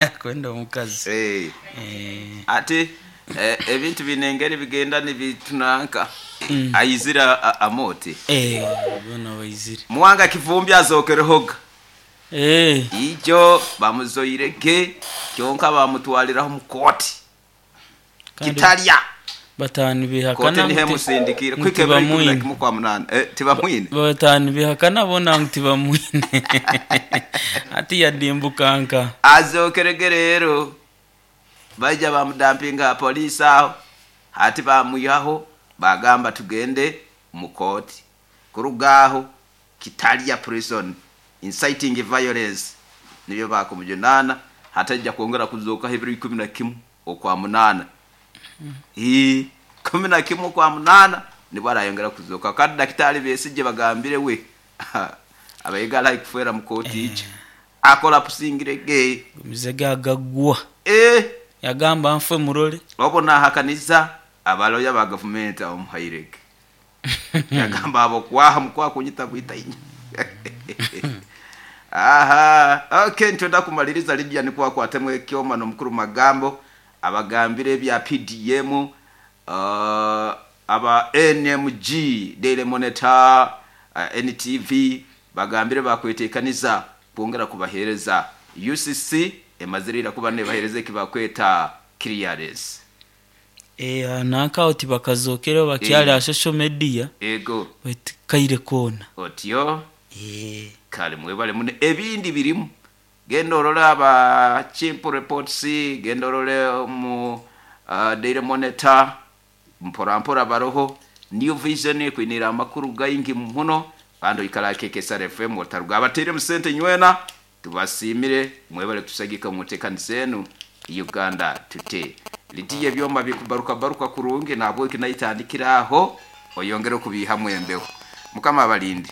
Kwenda omukazi. Eh, Eh, ati eh, ebintu bine engeri bigenda nibitunanka aizira amote eh, bona baizire. Muwanga Kivumbi azokerehoga Eh, ijo bamuzoirege kyonka bamutwaliraho mu kooti kandi kitalya batanu kooti bihakana niho ngu ti- emusindikire ngu kwika ebiro ikumi na tibamwine. kimwe kwa munana eh, tibamwine Batanu bihakana bona ngu tibamwine. Ati yadimbukanka. azokerege rero baija bamudampinga polisi aho hati bamwihaho bagamba tugende mu kooti kuruga aho kitalya prison inciting violence nibyo bakumujunana hatajja kwongera kuzokaho ebiro 11 okwa munana. Ii, 11 okwa munana nibwo arayongera kuzoka kandi dakitari Besigye bagambire we abayigala kufera mu kooti ijo akola pusingirege. Gumize gagagwa. Eh, Yagamba nfe murole. obo nahakaniza abaloya ba gavumenti abamuhairege yagamba abo kwaha mukwa kunyita bwita inya. Aha, okay, ntwenda kumaliriza Lydia nikuwa kwatemwe ekyoma nomukuru magambo abagambire ebya PDM, aba NMG Daily Monitor, NTV bagambire bakwetekaniza kwongera kubahereza UCC emazirira kuba nebahereza ekibakweta clearance. Eh, nanka oti bakazokera bakyali Eh. ha social media. Ego. Baitu kaire kona. Otyo. Eh. Kale mwebale mune ebindi birimu genda orole aba Chimp Reports, genda orole mu Daily Monitor mpora mpora baroho New Vision kwinira amakuru gaingi muno kandi oikara KKSR FM otaruga abateire musente nywena tubasimire mwebale tusagika mutekanisa enu Uganda Today litiye ebyoma bikubaruka baruka kurungi nabwo kinayitandikira aho oyongere kubiha mwembeho mukama abalinde.